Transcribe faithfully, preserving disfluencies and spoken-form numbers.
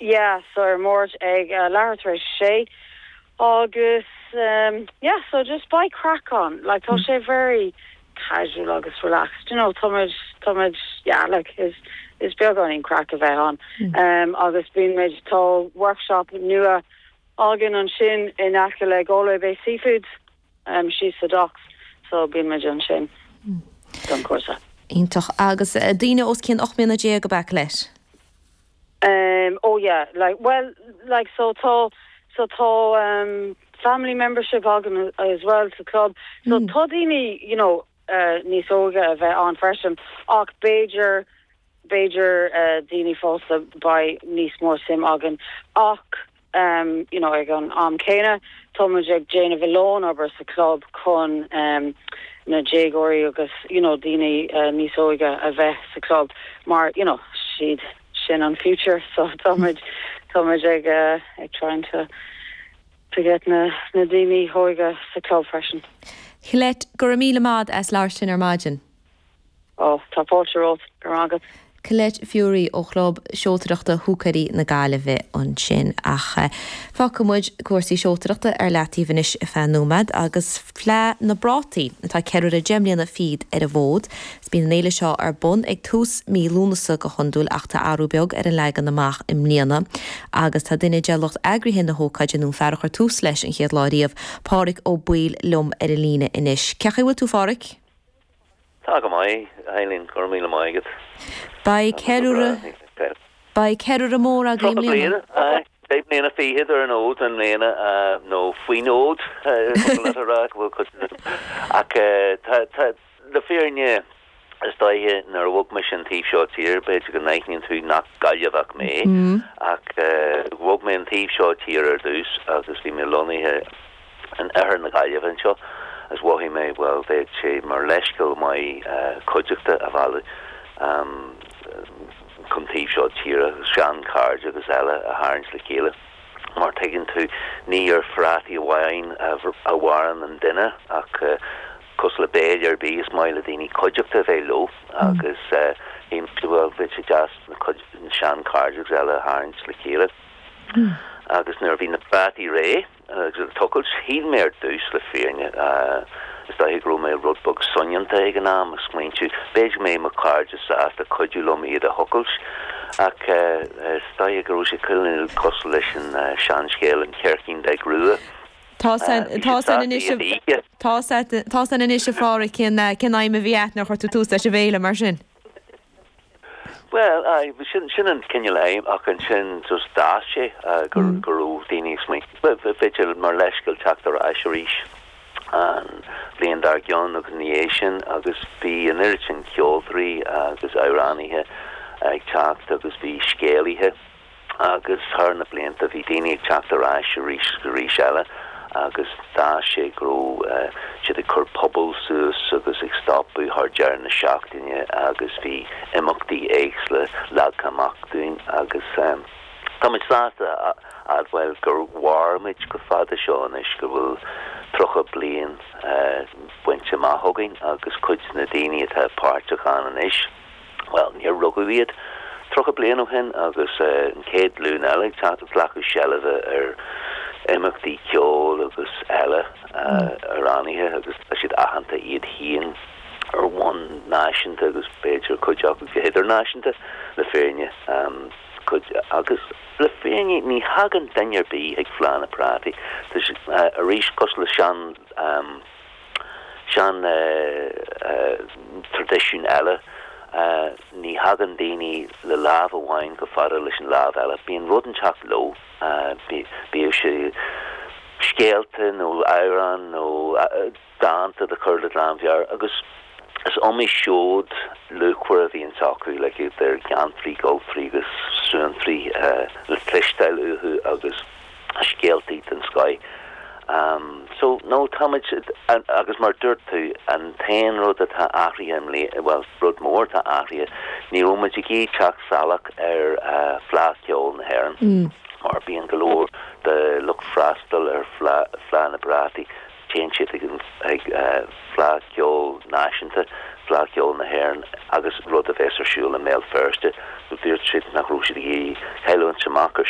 Yeah, so ar Máirt ag uh, leathuair tar éis sé agus um, yeah, so just beidh craic ann like tá sé very casual agus relaxed you know táimid táimid yeah like is is beagáinín craic a bheith ann mm. um, agus bíonn tá workshop nua againn ansin in aice le Galway Bay Seafood um, síos sa docks so bíonn muid ansin mm. don cúrsa. Iontach agus uh, daoine os cionn ocht mbliana déag go back leis. Um, oh yeah, like well like so tá so tá um, family membership againn as well sa club so mm. tá daoine you know uh, níos óige a bheith ann freisin ach b'fhéidir b'fhéidir uh, daoine fásta beidh níos mó suim againn ach um, you know ag an am céanna táimid ag déanamh a lán obair sa club chun um, na déagóirí agus you know daoine uh, níos óige a bheith sa club mar you know siad sin an future so táimid táimid ag uh, ag trying to to get na na daoine óga sa club freisin. Colette go raibh míle maith as labhairt linn ar maidin. Ó tá fáilte romhat go agat. Colette Furey ó chlub seoltóireachta Húcaí na Gaillimhe ansin ach eh, fágfaidh muid cúrsaí seoltóireachta ar leataobh anois ar feadh nóiméad agus Fleadh na bPrátaí atá ceiliúradh deich mbliana fichead ar an bhfód. Bíonn an fhéile seo ar bun ag tús mí Lúnasa go hiondúil ach tá athrú beag ar an leagan amach i mbliana, agus tá duine de lucht eagraithe na hócáide nó fear a chuir tús leis an chéad lá riamh Páraic Ó Baoill liom ar an líne anois. Cén chaoi a bhfuil tú a Pháraic? Tá go maith Eileen go raibh míle maith agat. Beidh ceiliúradh Beidh ceiliúradh mór agaibh i mbliana. Deich mbliana fichead ar an fhód i mbliana nó faoin fhód rá bhfuil ach le fírinne is dóiche nuair a bhog mé an taobh seo tíre b'fhéidir go n-aithníonn tú nach Gaillimheach mé ach bhog mé an taobh seo tíre ar dtús agus bhí mé lonnaithe in oirthear na Gaillimhe anseo. Is mhothaigh mé well bheadh sé mar leithscéal maith cuideachta a mhealladh um, chun taobh seo tíre seanchairde agus eile a tharraingt le chéile. Mar tuigeann tú ní ar phrátaí amháin a mhaireann an duine ach uh, cosúil le béile ar bith is maith le daoine cuideachta bheith leo agus uh, well bheadh sé deas na seanchairde agus eile a tharraingt le chéile. Mm. Agus nuair bhí na prátaí réidh agus tochailt shíl mé ar dtús le fírinne is dóiche go raibh mé rud beag soineanta ag an am a smaointiú b'fhéidir go mbeidh mo chairde sásta cuidiú liom iad a thochailt ach is dóiche go raibh sé cineál cosúil leis an seanscéal an cheircín beag rua. Tá Tá san anois a Pháraic cén cén aidhm a bhí agat nuair a chuir tú tús leis an bhféile mar sin. Well sin sin an cineál aidhm ach ansin just d'fhás sé gur go raibh daoine b'fhéidir mar leithscéal teacht ar ais arís an bhliain dár gcionn agus ní é sin agus bhí an oiread sin ceoltóirí agus amhránaithe ag teacht agus bhí scéalaithe agus thar na blianta bhí daoine ag teacht ar ais arís arís eile agus d'fhás sé go raibh siad ag cur puball suas agus ag stopadh thar deireadh na seachtaine agus bhí imeachtaí éagsúla leagtha amach dúinn agus um, Tá muid sásta a admháil gur mhair muid chomh fada seo anois go bhfuil tríocha bliain uh, bainte amach againn agus cuid na daoine atá páirteach ann anois. Well, níor rugadh iad tríocha bliain ó shin agus uh, an chéad ghlúin eile ag glacadh seilbhe ar imeachtaí ceoil agus eile amhránaithe agus tá siad aitheanta iad féin ar bhonn náisiúnta agus b'fhéidir cuid acu go hidirnáisiúnta le fírinne um, cuid agus le fírinne ní thagann duine ar bith ag Fleadh na bPrátaí uh, arís cosúil le sean um, sean uh, uh, traidisiún eile uh, ní thagann daoine le lámh amháin go fada leis an lámh eile bíonn rud inteacht leo uh, bíodh sé scéalta nó amhrán nó uh, dánta de chur le lámhleabhar agus is iomaí seod luachmhar a bhíonn acu le idir geantraí goltraí agus suantraí uh, le cloisteáil uathu agus scéaltaí den scoth. Um, so no táimid agus mar dúirt tú an t-aon rud atá athraithe well rud mór atá athraithe ní raibh muid ag teacht salach ar uh, Fleadh Cheoil na hÉireann mm. mar bíonn go leor de lucht freastail ar Fhleadh na bPrátaí téann siad ag ag uh, Fleadh Cheoil náisiúnta Fleadh Cheoil na hÉireann agus rud a bheas ar siúl i mBéal Feirste dúirt siad nach raibh siad ag cailliúint amach ar